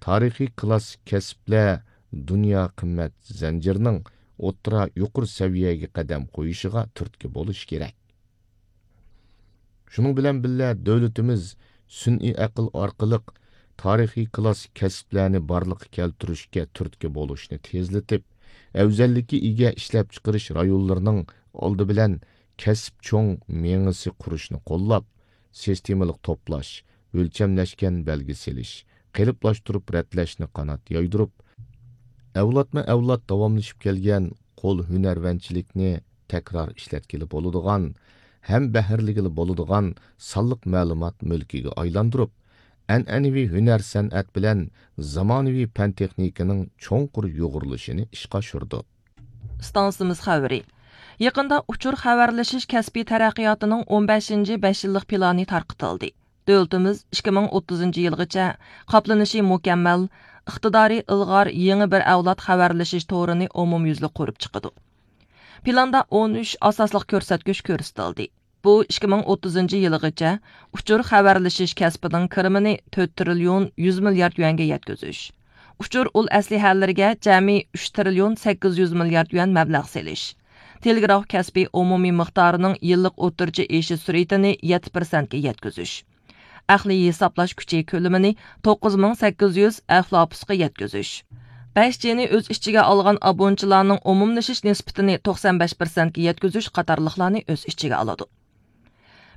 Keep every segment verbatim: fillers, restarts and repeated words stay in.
تارىخىي كلاسسىك كەسىپلەر دۇنيا قىممەت زەنجىرىنىڭ ئوتتۇرا يۇقىرى سەۋىيەگە قەدەم قويۇشىغا تۈرتكە بولۇشى كېرەك. شۇنىڭ بىلەن بىللە، دۆلىتىمىز سۈنئىي ئەقىل ئارقىلىق تارىخىي كلاسسىك كەسىپلەرنى بارلىققا كەلتۈرۈشكە تۈرتكە بولۇشنى تېزلىتىپ، ئەۋزەللىككە ئىگە ئىشلەپچىقىرىش رايونلىرىنىڭ ئالدى بىلەن كەسىپ چوڭ مېڭىسى قۇرۇشنى قوللاپ، سىستېمىلىق توپلاش، ئۆلچەملەشكەن بەلگە سېلىش، قېلىپلاشتۇرۇپ رەتلەشنى قانات يايدۇرۇپ، ئەۋلادمۇ ئەۋلاد داۋاملىشىپ كەلگەن قول ھۈنەرۋەنچىلىكنى تەكرار ئىشلەتكىلى بولىدىغان، ھەم بەھرىلىگىلى بولىدىغان سانلىق مەلۇمات مۈلكىگە ئايلاندۇرۇپ، ئەنئەنىۋى ھۈنەر سەنئەت بىلەن زامانىۋى پەن تېخنىكىنىڭ چوڭقۇر يۇغۇرۇلۇشىنى ئىشقا ئاشۇرىدۇ. ئىستانسىمىز خەۋىرى. يېقىندا ئۇچۇر خەۋەرلىشىش كەسپىي تەرەققىياتىنىڭ ئون بەشىنچى بەش يىللىق پىلانى تارقىتىلدى. دۆلىتىمىز ئىككى مىڭ ئوتتۇزىنچى يىلغىچە قاپلىنىشى مۇكەممەل، ئىقتىدارى ئىلغار يېڭى بىر ئەۋلاد خەۋەرلىشىش تورىنى ئومۇميۈزلۈك قۇرۇپ چىقىدۇ. پىلاندا ئون ئۈچ ئاساسلىق كۆرسەتكۈچ كۆرسىتىلدى. بۇ ئىككى مىڭ ئوتتۇزىنچى يىلىغىچە ئۇچۇر خەۋەرلىشىش كەسپىنىڭ كىرىمىنى تۆت تىرىليون يۈز مىليارد يۈەنگە يەتكۈزۈش، ئۇچۇر ئۇل ئەسلىھەلىرىگە جەمئىي ئۈچ تىرىليون سەككىز يۈز مىليارد يۈەن مەبلەغ سېلىش، تېلېگراف كەسپى ئومۇمىي مىقدارىنىڭ يىللىق ئوتتۇرىچە ئېشىش سۈرئىتىنى يەتتە پىرسەنتكە يەتكۈزۈش، ئەقلىي ھېسابلاش كۈچى كۆلىمىنى توققۇز مىڭ سەككىز يۈز ئەفلاپۇسقا يەتكۈزۈش، بەش جىنى ئۆز ئىچىگە ئالغان ئابۇنىچىلارنىڭ ئومۇملىشىش نىسبىتىنى توقسان بەش پىرسەنتكە يەتكۈزۈش قاتارلىقلارنى ئۆز ئىچىگە ئالىدۇ.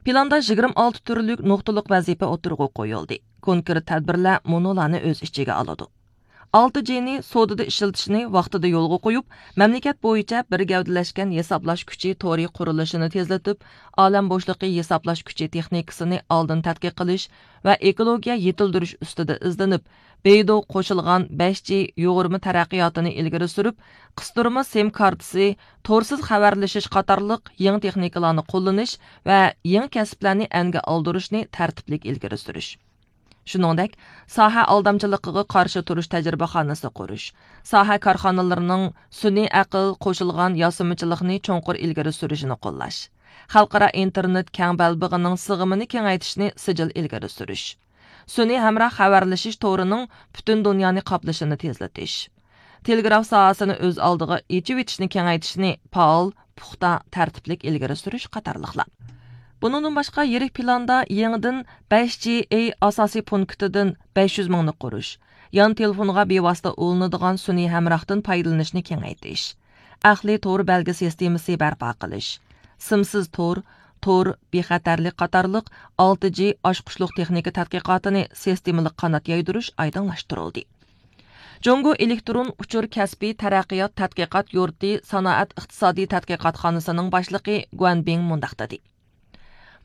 پىلاندا يىگىرمە ئالتە تۈرلۈك نۇقتىلىق ۋەزىپە ئوتتۇرىغا قويۇلدى. كونكرېت تەدبىرلەر مۇنۇلارنى ئۆز ئىچىگە ئالىدۇ. ئالتە جىنى سودىدا ئىشلىتىشنى ۋاقتىدا يولغا قويۇپ، مەملىكەت بويىچە بىر گەۋدىلەشكەن ھېسابلاش كۈچى تورى قۇرۇلۇشىنى تېزلىتىپ، ئالەم بوشلۇقى ھېسابلاش كۈچى تېخنىكىسىنى ئالدىن تەتقىق قىلىش ۋە ئېكولوگىيە يېتىلدۈرۈش ئۈستىدە ئىزدىنىپ، بېيدۇ قوشۇلغان بەش جى يۇغۇرما تەرەققىياتىنى ئىلگىرى سۈرۈپ، قىستۇرما سىم كارتىسى، تورسىز خەۋەرلىشىش قاتارلىق يېڭى تېخنىكىلارنى قوللىنىش ۋە يېڭى كەسىپلەرنى ئەنگە ئالدۇرۇشنى تەرتىپلىك ئىلگىرى سۈرۈش. شۇنىڭدەك، ساھە ئالدامچىلىقىغا قارشى تۇرۇش تەجرىبىخانىسى قۇرۇش، ساھە كارخانىلىرىنىڭ سۈنئىي ئەقىل قوشۇلغان ياسىمىچىلىقنى چوڭقۇر ئىلگىرى سۈرۈشىنى قوللاش، خەلقئارا ئىنتېرنېت كەڭ بەلبېغىنىڭ سىغىمىنى كېڭەيتىشنى سىجىل ئىلگىرى سۈرۈش، سۈنئىي ھەمراھ خەۋەرلىشىش تورىنىڭ پۈتۈن دۇنيانى قاپلىشىنى تېزلىتىش، تېلېگراف ساھەسىنى ئۆز ئالدىغا ئېچىۋېتىشنى كېڭەيتىشنى پائال، پۇختا، تەرتىپلىك ئىلگىرى سۈرۈش قاتارلىقلار. بۇنىڭدىن باشقا، يىرىك پىلاندا يېڭىدىن بەش جى ئەي ئاساسىي پونكىتىدىن بەش يۈز مىڭنى قۇرۇش، يان تېلېفونغا بىۋاسىتە ئۇلىنىدىغان سۈنئىي ھەمراھتىن پايدىلىنىشنى كېڭەيتىش، ئەقلىي تور بەلگە سىستېمىسى بەرپا قىلىش، سىمسىز تور، تور بىخەتەرلىك قاتارلىق ئالتە جى ئاچقۇچلۇق تېخنىكا تەتقىقاتىنى سىستېمىلىق قانات يايدۇرۇش ئايدىڭلاشتۇرۇلدى. جۇڭگو ئېلېكترون ئۇچۇر كەسپىي تەرەققىيات تەتقىقات يۇرتى سانائەت ئىقتىسادىي تەتقىقاتخانىسىنىڭ باشلىقى گۇەن بىڭ مۇنداق دېدى.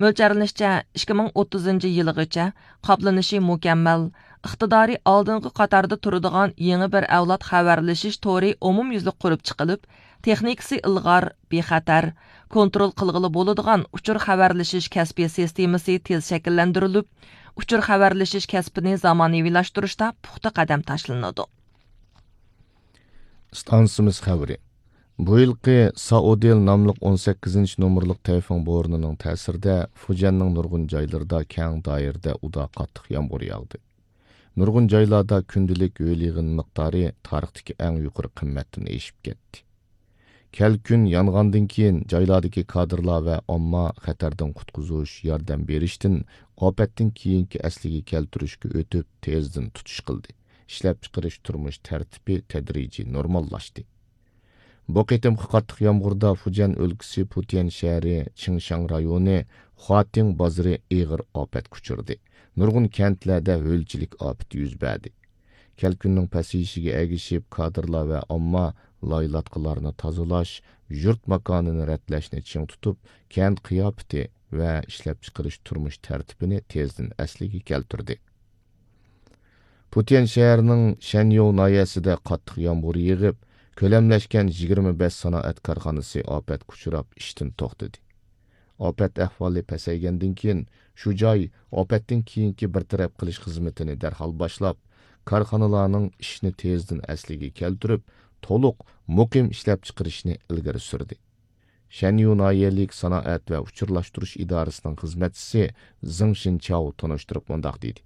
مۆلچەرلىنىشىچە، ئىككى مىڭ ئوتتۇزىنچى يىلىغىچە قاپلىنىشى مۇكەممەل، ئىقتىدارى ئالدىنقى قاتاردا تۇرىدىغان يېڭى بىر ئەۋلاد خەۋەرلىشىش تورى ئومۇميۈزلۈك قۇرۇپ چىقىلىپ، تېخنىكىسى ئىلغار، بىخەتەر، كونترول قىلغىلى بولىدىغان ئۇچۇر خەۋەرلىشىش كەسپىي سىستېمىسى تېز شەكىللەندۈرۈلۈپ، ئۇچۇر خەۋەرلىشىش كەسپىنى زامانىۋىلاشتۇرۇشتا پۇختا قەدەم تاشلىنىدۇ. ئىستانسىمىز خەۋىرى. بۇ يىلقى سائودىل ناملىق ئون سەككىزىنچى نومۇرلۇق تەيفۇڭ بورىنىنىڭ تەسىرىدە فۇجيەننىڭ نۇرغۇن جايلىرىدا كەڭ دائىرىدە ئۇدا قاتتىق يامغۇر ياغدى. نۇرغۇن جايلاردا كۈندىلىك ھۆل يېغىن مىقدارى تارىختىكى ئەڭ يۇقىرى قىممەتتىن ئېشىپ كەتتى. كەلكۈن يانغاندىن كېيىن، جايلاردىكى كادىرلار ۋە ئامما خەتەردىن قۇتقۇزۇش، ياردەم بېرىشتىن ئاپەتتىن كېيىنكى ئەسلىگە كەلتۈرۈشكە ئۆتۈپ، تېزدىن تۇتۇش قىلدى. ئىشلەپچىقىرىش، تۇرمۇش تەرتىپى تەدرىجىي نورماللاشتى. بۇ قېتىمقى قاتتىق يامغۇردا فۇجيەن ئۆلكىسى پۇتيەن شەھىرى چىڭشاڭ رايونى خۇاتىڭ بازىرى ئېغىر ئاپەتكە ئۇچرىدى. نۇرغۇن كەنتلەردە ھۆلچىلىك ئاپىتى يۈز بەردى. كەلكۈننىڭ پەسىيىشىگە ئەگىشىپ، كادىرلار ۋە ئامما لايلاتقىلارنى تازىلاش، يۇرت ماكانىنى رەتلەشنى چىڭ تۇتۇپ، كەنت قىياپىتى ۋە ئىشلەپچىقىرىش تۇرمۇش تەرتىپىنى تېزدىن ئەسلىگە كەلتۈردى. پۇتيەن شەھىرىنىڭ شەنيوۋ ناھىيەسىدە قاتتىق يامغۇر يېغىپ، كۆلەملەشكەن يىگىرمە بەش سانائەت كارخانىسى ئاپەتكە ئۇچراپ، ئىشتىن توختىدى. ئاپەت ئەھۋالى پەسەيگەندىن كېيىن، شۇ جاي ئاپەتتىن كېيىنكى بىر تەرەپ قىلىش خىزمىتىنى دەرھال باشلاپ، كارخانىلارنىڭ ئىشىنى تېزدىن ئەسلىگە كەلتۈرۈپ، تولۇق، مۇقىم ئىشلەپچىقىرىشنى ئىلگىرى سۈردى. شەنيۇ ناھىيەلىك سانائەت ۋە ئۇچۇرلاشتۇرۇش ئىدارىسىنىڭ خىزمەتچىسى زېڭ شىنچاۋ تونۇشتۇرۇپ مۇنداق دېدى: